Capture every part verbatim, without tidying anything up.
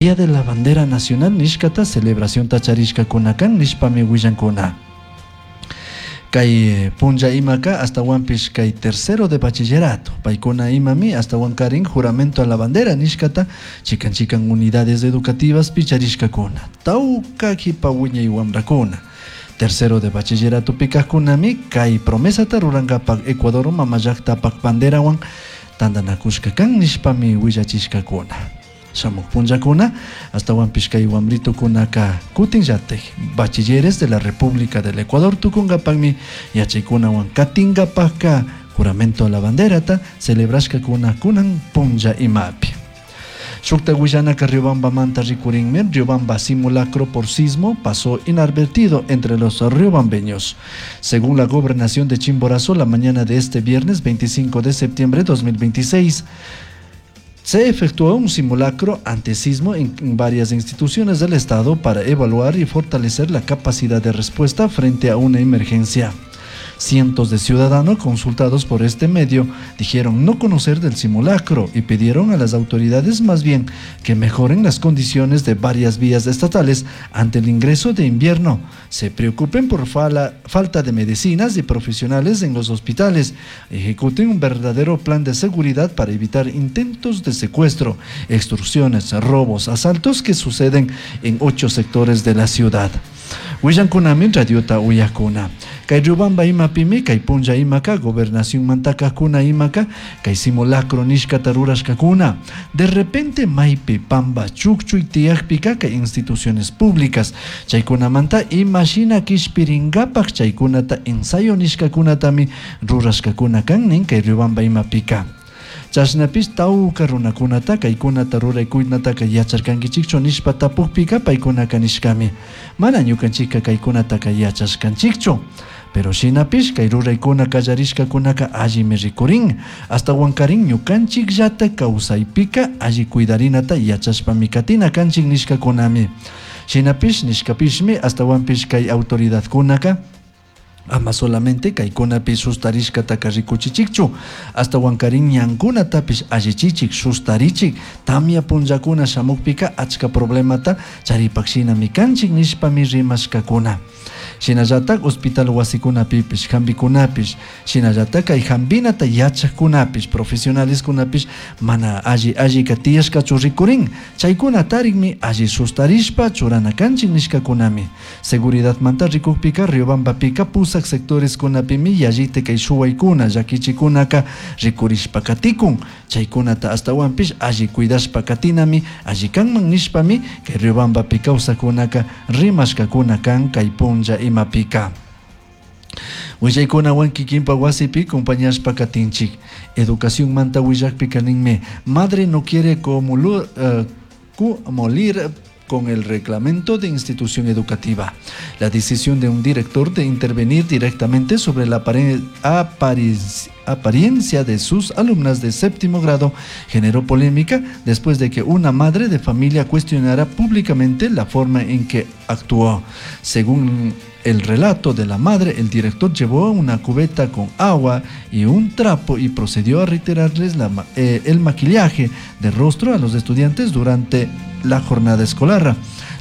Día de la Bandera Nacional nishkata celebración charishkakuna kan nishpami willankuna. Kay punlla imaka ashtahuanpish kay tercero de bachillerato paykuna imami ashtahuankarin juramento a la bandera nishkata chikan chikan unidades educativas charishkakuna tawka kipa wiñay wamrakuna tercero de bachillerato kajkunami kay promesata rurankapak Ecuador mamallaktapak banderawan tantanakushka kan nishpami willachishkakuna. Shamuk punllakuna ashtahuanpish kay wamritukunaka kutinllatik bachilleres de la República del Ecuador tukunkapakmi yachaykunawan katinkapakka juramento a la banderata celebrashkakuna kunan punlla imapi. Shukta willanaka Riobambamanta rikurinmi. Riobamba simulacro por sismo pasó inadvertido entre los riobambeños. Según la gobernación de Chimborazo, la mañana de este viernes veinticinco de septiembre de dos mil veintiséis, se efectuó un simulacro ante sismo en varias instituciones del Estado para evaluar y fortalecer la capacidad de respuesta frente a una emergencia. Cientos de ciudadanos consultados por este medio dijeron no conocer del simulacro y pidieron a las autoridades más bien que mejoren las condiciones de varias vías estatales ante el ingreso de invierno, se preocupen por fala, falta de medicinas y profesionales en los hospitales, ejecuten un verdadero plan de seguridad para evitar intentos de secuestro, extorsiones, robos, asaltos que suceden en ocho sectores de la ciudad. Willankunami radiota uyakuna. Kay Riobamba imapimi kay punlla imaka gobernación mantakakuna imaka kay simulacro nishkata rurashkakuna. De repente maypi pamba chukchuy tiyakpika kay instituciones públicas chaykunamanta imashina kishpirinkapak chaykunata ensayo nishkakunatami rurashkakuna kan nin kay Riobamba imapika. Chashnapish tawka runakunata kaykunata ruraykunataka yacharkankichikchu nishpa tapukpika paykunaka nishkami mana ñukanchikka kaykunataka yachashkanchikchu, pero shinapish kay ruraykuna kallarishkakunaka allimi rikurin, ashtawankarin ñukanchikllata kawsaypika alli cuidarinata yachashpami katina kanchik nishkakunami. Shinapish nishkapishmi ashtawanpish kay autoridadkunaka ama solamente kaykunapi sustarishkataka rikuchichikchu, ashtawankarin ñankunatapish allichichik, sustarichik. Tamya punllakuna shamukpika achka problemata charipak shinami kanchik nishpami rimashkakuna. Shinallatak hospital wasikunapipish hambikunapish, shinallatak kay hambinata yachakkunapish, profesionaleskunapish mana alli allika tiyashkachu rikurin, chaykuna tarikmi alli sustarishpa churana kanchik nishkakunami. Seguridadmanta rikukpika Riobambapika pusak sectoreskunapimi yallita kay shuwaykuna llakichikunaka rikurishpa katikun, chaykunata ashtawanpish alli cuidashpa katinami alli kanman nishpami kay Riobambapi kawsakunaka rimashkakuna kan kay punlla imapika. Willaykunawan kikinpa wasipi compañashpa katinchik. Educación manta willakpika ninmi: madre no quiere comulu, uh, cumplir con el reglamento de institución educativa. La decisión de un director de intervenir directamente sobre la apariencia de sus alumnas de séptimo grado generó polémica después de que una madre de familia cuestionara públicamente la forma en que actuó. Según el relato de la madre, el director llevó una cubeta con agua y un trapo y procedió a retirarles la, eh, el maquillaje de rostro a los estudiantes durante la jornada escolar.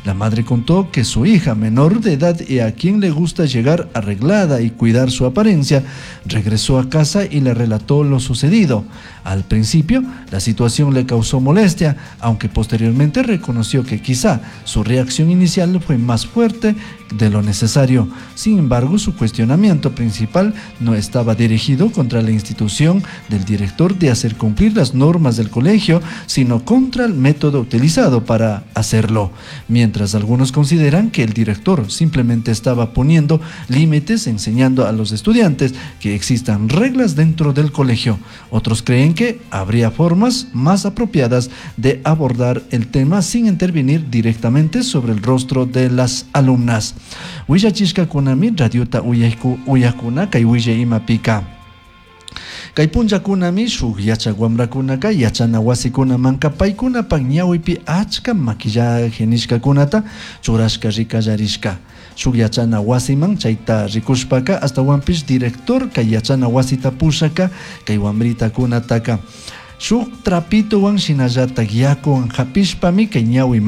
La madre contó que su hija menor de edad y a quien le gusta llegar arreglada y cuidar su apariencia, regresó a casa y le relató lo sucedido. Al principio, la situación le causó molestia, aunque posteriormente reconoció que quizá su reacción inicial fue más fuerte de lo necesario. Sin embargo, su cuestionamiento principal no estaba dirigido contra la institución del director de hacer cumplir las normas del colegio, sino contra el método utilizado para hacerlo. Mientras algunos consideran que el director simplemente estaba poniendo límites, enseñando a los estudiantes que existan reglas dentro del colegio, otros creen que habría formas más apropiadas de abordar el tema sin intervenir directamente sobre el rostro de las alumnas. Willachishkakunami radiota uyakuna kay willay imapika. Kay punllakunami shuk yachak wamrakunaka yachana wasikunamanka paykunapak ñawipi achka maquillaje nishkakunata churashka rikallarishka. Shuk yachana wasiman chayta rikushpaka ashtawanpish director kay yachana wasita pushaka kay wamritakunataka Shuk trapitowan shinallatak yakuwan hapishpami kay ñawi